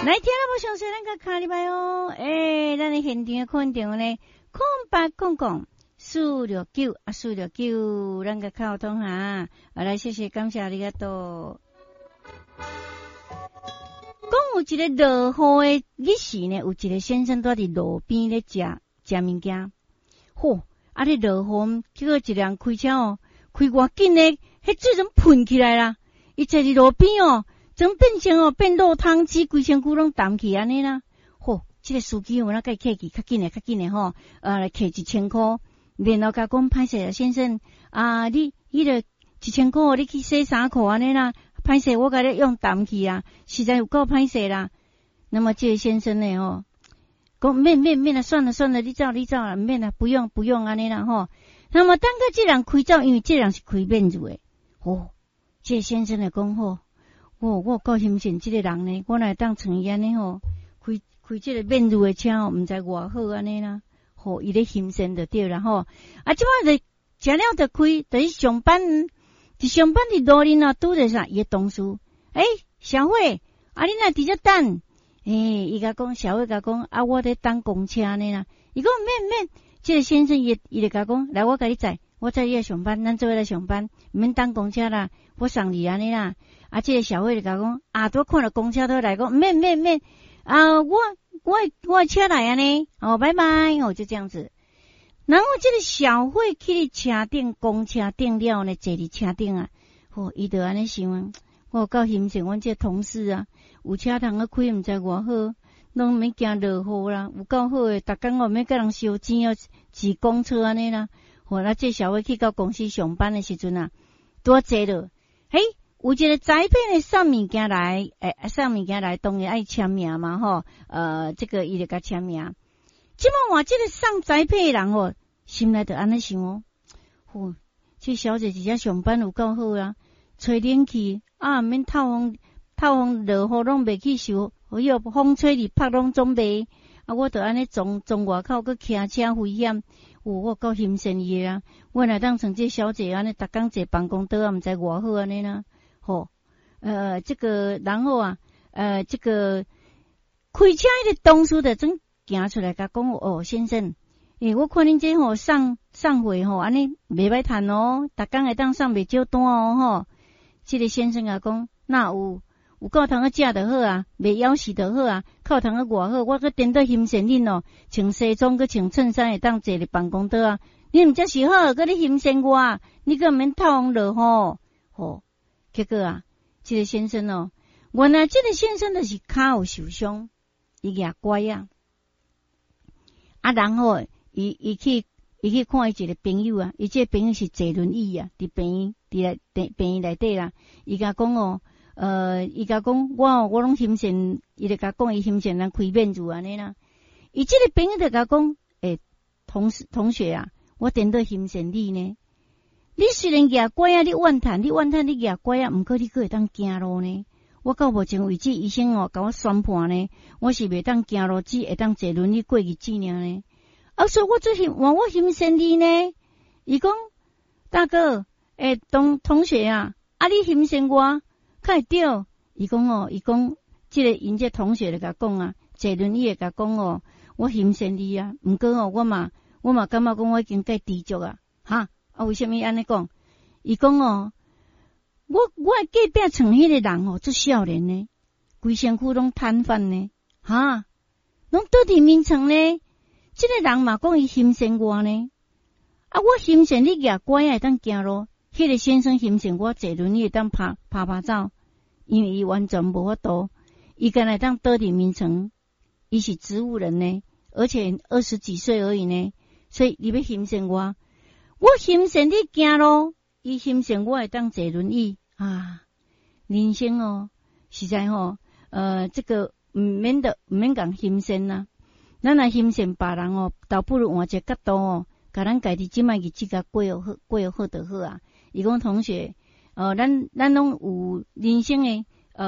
來聽啦，無詳細，咱共敲入來哦。欸，咱的現場的款電話呢，0800 469啊，四六九，咱共溝通哈。啊，來，謝謝，感謝ありがとう。講有一個落雨的日時呢，有一個先生蹛佇路邊咧食食物件。嚯！啊，咧落雨，結果一個人開車哦，開偌緊呢，彼水總噴起來啦。伊坐佇路邊哦，總變成哦變落湯雞，規身軀攏澹去按呢啦。嚯！這個司機有哪共伊客氣，較緊的，較緊的吼，來摕1000箍，然後共講歹勢啊，先生啊，你彼個一千箍，你去洗衫褲按呢啦。歹勢，我共你用澹去啊，實在有夠歹勢啦。那麼這個先生呢，吼，講免免免啦，算了算了，你走你走啦，毋免啦，不用不用按呢啦吼。那麼等到這人開走，因為這人是開免入的，吼，這個先生就講吼，我夠欣賞這個人呢，我若會當像伊按呢吼，開開這個免入的車吼，毋知偌好按呢啦，吼，伊咧欣賞就對啦吼。啊，這擺就食了就開，就去上班。佇上班佇路面啊，拄著啥？伊的同事，欸，小慧，啊，你哪佇遮等？欸，伊共講，小慧共講，啊，我咧等公車呢啦。伊講免免，這個先生伊伊就共講，來，我共你載，我載你來上班，咱做伙來上班，毋免等公車啦，我送你按呢啦。啊，這個小慧就共講，啊，拄看著公車都來講，免免免，啊，我車來按呢，哦，拜拜，哦，就這樣子。然後這個小慧去佇車頂，公車頂了呢，坐佇車頂啊，吼，伊就按呢想啊，我有夠欣賞阮這個同事啊，有車通去開，毋知偌好，攏毋免驚落雨啦，有夠好的，逐工哦毋免共人相爭哦，擠公車按呢啦。吼，啊，這小慧去到公司上班的時陣啊，拄仔坐落，嘿，有一個裁判的送物件來，欸，送物件來，當然愛簽名嘛，吼，這個伊就共簽名。這擺換這個送栽培的人哦，心內就按呢想哦，吼，這小姐佇遮上班有夠好啊，吹冷氣啊，毋免透風，透風落雨攏袂去受，彼個風吹入曝攏總袂。啊，我著按呢從從外口閣騎車危險，有我夠欣羨伊的啊！我若當像這小姐按呢，逐工坐辦公桌啊，毋知偌好按呢啦，吼，這個然後啊，這個開車彼個同事就總行出來共講哦，先生，欸，我看恁這吼送送貨吼，按呢袂歹趁哦，逐工會當送袂少單哦，吼。這個先生共講，哪有有夠通去食就好啊，袂枵死就好啊，夠通去偌好，我閣顛倒欣羨恁哦，穿西裝閣穿襯衫會當坐佇辦公桌啊，你毋才是好，閣你欣羨我，你閣毋免透風落雨，吼。結果啊，這個先生哦，原來這個先生就是跤有受傷，伊舉拐仔。啊，然後伊去看伊一個朋友啊，伊這個朋友是坐輪椅啊，佇病院，佇內病病院內底啦。伊共講哦，伊共講我哦，我攏欣羨，伊就共講伊欣羨人開免入按呢啦。伊這個朋友就共講，欸，同事同學啊，我顛倒欣羨你呢。你雖然舉拐仔，你怨嘆，你怨嘆，你舉拐仔，毋過你閣會當行路呢。我到目前為止，醫生哦，共我宣判呢，我是袂當行路，只會當坐輪椅過日子爾呢。啊，所以我做欣，我我欣羨你呢。伊講，大哥，欸，同學啊，啊，你欣羨我，較會對。伊講哦，伊講，這個𪜶這同學就共講啊，坐輪椅的共講哦，我欣羨你啊，毋過哦，我嘛感覺講我已經該知足啊，哈，啊，為啥物按呢講？伊講哦，我隔壁床彼個人哦，足少年呢，規身軀攏癱瘓呢，哈，攏倒佇眠床呢。這個人嘛講伊欣羨我呢，啊，我欣羨你舉拐仔會當行路，彼個先生欣羨我坐輪椅會當拍拍拍走，因為伊完全無法度，伊干焦會當倒佇眠床，伊是植物人呢，而且二十幾歲而已呢，所以你欲欣羨我，我欣羨你行路，伊欣羨我會當坐輪椅啊，人生哦，實在吼，這個毋免得毋免共欣羨啦。咱若欣羨別人哦，倒不如換一個角度哦，共咱家己這擺日子共過好，過好就好啊。伊講同學，咱攏有人生的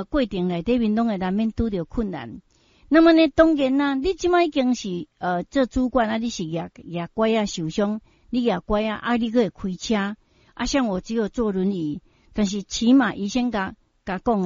過程內底面，攏會難免拄著困難。那麼呢，當然啦，你這擺已經是做主管啊，你是舉舉拐仔受傷，你舉拐仔啊，你閣會開車啊，像我只有坐輪椅，但是起碼醫生共共講的。